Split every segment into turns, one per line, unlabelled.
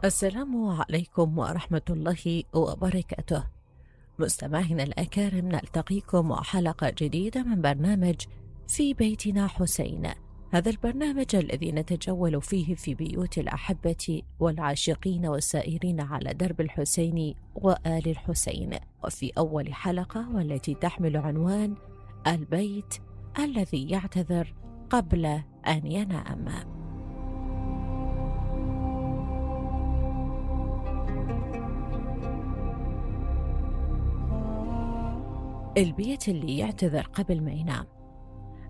السلام عليكم ورحمة الله وبركاته. مستمعينا الأكارم، نلتقيكم مع حلقة جديدة من برنامج في بيتنا حسين. هذا البرنامج الذي نتجول فيه في بيوت الأحبة والعاشقين والسائرين على درب الحسين وآل الحسين. وفي أول حلقة والتي تحمل عنوان البيت الذي يعتذر قبل أن ينام. البيت اللي يعتذر قبل ما ينام.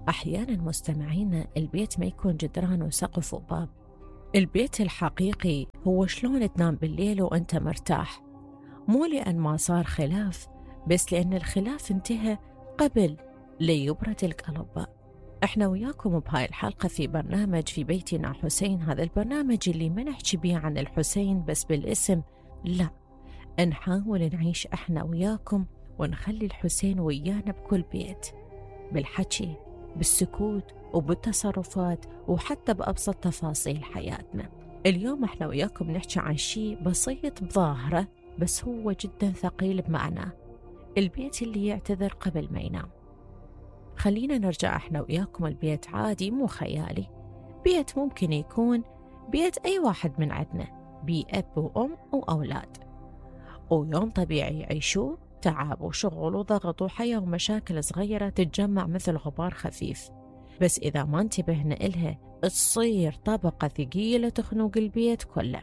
أحيانا مستمعين البيت ما يكون جدران وسقف وباب. البيت الحقيقي هو شلون تنام بالليل وأنت مرتاح، مو لأن ما صار خلاف، بس لأن الخلاف انتهى قبل ليبرد القلب. احنا وياكم بهاي الحلقة في برنامج في بيتنا حسين. هذا البرنامج اللي ما نحكي بيه عن الحسين بس بالاسم، لا، نحاول نعيش احنا وياكم ونخلي الحسين ويانا بكل بيت، بالحكي، بالسكوت، وبالتصرفات، وحتى بأبسط تفاصيل حياتنا. اليوم احنا وياكم نحكي عن شيء بسيط بظاهره بس هو جدا ثقيل بمعناه، البيت اللي يعتذر قبل ما ينام. خلينا نرجع احنا وياكم البيت عادي مو خيالي، بيت ممكن يكون بيت أي واحد من عندنا، بيه أب وأم وأولاد، ويوم طبيعي يعيشوه، تعب وشغل وضغط وحياة ومشاكل صغيرة تتجمع مثل غبار خفيف، بس إذا ما انتبهنا إلها تصير طبقة ثقيلة تخنق البيت كله.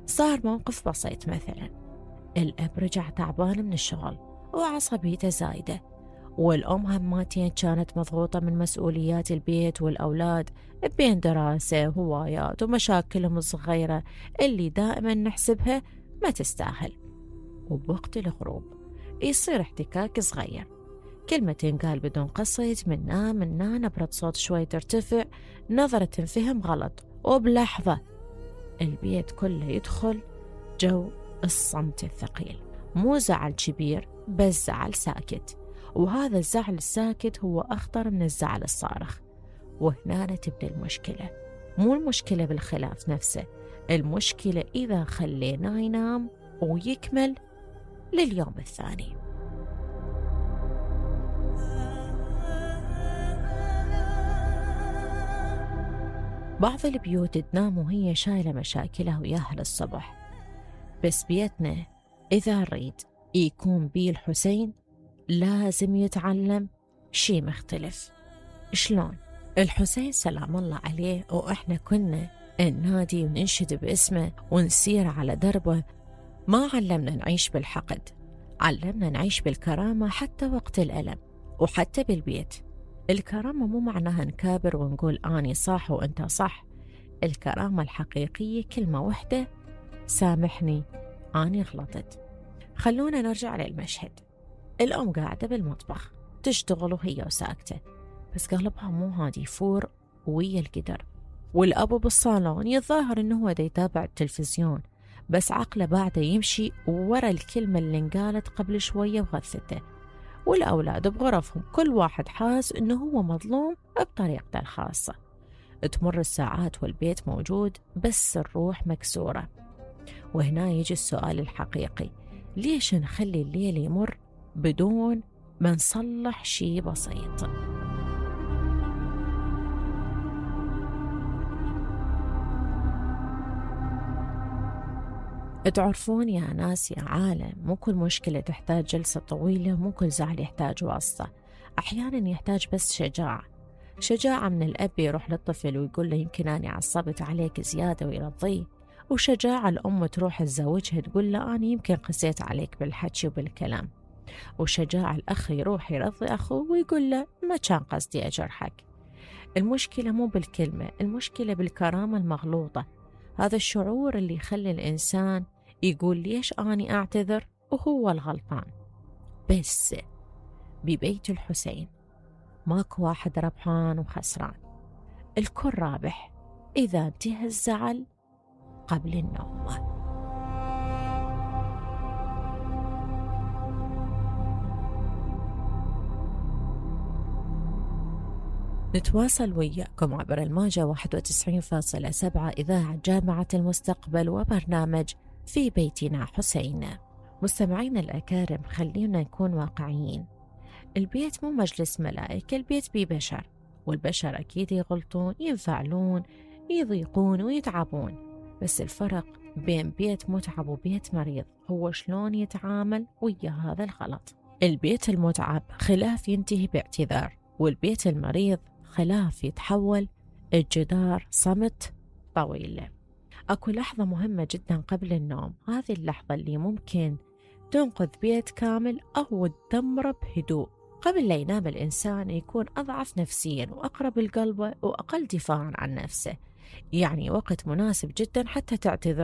صار موقف بسيط، مثلا الأب رجع تعبان من الشغل وعصبيته زايدة، والأم هماتين كانت مضغوطة من مسؤوليات البيت والأولاد بين دراسة وهوايات ومشاكلهم الصغيرة اللي دائما نحسبها ما تستاهل. وبوقت الغروب يصير احتكاك صغير، كلمة تنقال بدون قصد، من نبرة صوت شوي ترتفع، نظرة تنفهم غلط، وبلحظة البيت كله يدخل جو الصمت الثقيل. مو زعل كبير بس زعل ساكت، وهذا الزعل الساكت هو أخطر من الزعل الصارخ. وهنا تبدأ المشكلة. مو المشكلة بالخلاف نفسه، المشكلة إذا خليناه ينام ويكمل لليوم الثاني. بعض البيوت تنام وهي شايلة مشاكلها وياها للصبح، بس بيتنا إذا نريد يكون بيه الحسين لازم يتعلم شي مختلف. شلون؟ الحسين سلام الله عليه وإحنا كنا ننادي وننشد باسمه ونسير على دربه، ما علمنا نعيش بالحقد، علمنا نعيش بالكرامة حتى وقت الألم وحتى بالبيت. الكرامة مو معناها نكابر ونقول أني صح وأنت صح، الكرامة الحقيقية كلمة واحدة، سامحني أني غلطت. خلونا نرجع للمشهد. الأم قاعدة بالمطبخ تشتغل وهي وساكتة، بس قلبها مو هادي، يفور ويا القدر. والأبو بالصالون يتظاهر إنه هو دا يتابع التلفزيون، بس عقله بعده يمشي ورا الكلمة اللي انقالت قبل شوية وغثته. والأولاد بغرفهم كل واحد حاس إنه هو مظلوم بطريقته الخاصة. تمر الساعات والبيت موجود بس الروح مكسورة. وهنا يجي السؤال الحقيقي، ليش نخلي الليل يمر بدون ما نصلح شي بسيط؟ تعرفون يا ناس يا عالم، مو كل مشكلة تحتاج جلسة طويلة، مو كل زعل يحتاج واسطة. أحيانا يحتاج بس شجاعة من الأب يروح للطفل ويقول له يمكن أنا عصبت عليك زيادة ويرضيه، وشجاعة الأم تروح لزوجها تقول له أنا يمكن قسيت عليك بالحكي وبالكلام، وشجاعة الأخ يروح يرضي أخوه ويقول له ما كان قصدي أجرحك. المشكلة مو بالكلمة، المشكلة بالكرامة المغلوطة. هذا الشعور اللي يخلي الإنسان يقول ليش أني أعتذر وهو الغلطان. بس ببيت الحسين ماكو واحد ربحان وخسران، الكل رابح إذا انتهى الزعل قبل النوم. نتواصل وياكم عبر الموجة 91.7 إذاعة جامعة المستقبل وبرنامج في بيتنا حسين. مستمعينا الأكارم، خلينا نكون واقعيين. البيت مو مجلس ملائكة، البيت بيه بشر، والبشر أكيد يغلطون، ينفعلون، يضيقون ويتعبون. بس الفرق بين بيت متعب وبيت مريض هو شلون يتعامل ويا هذا الغلط. البيت المتعب خلاف ينتهي باعتذار، والبيت المريض خلاف يتحول الجدار صمت طويل. أكو لحظة مهمة جدا قبل النوم، هذه اللحظة اللي ممكن تنقذ بيت كامل أو تدمره بهدوء. قبل لا ينام الإنسان يكون أضعف نفسيا وأقرب لقلبه وأقل دفاعا عن نفسه، يعني وقت مناسب جدا حتى تعتذر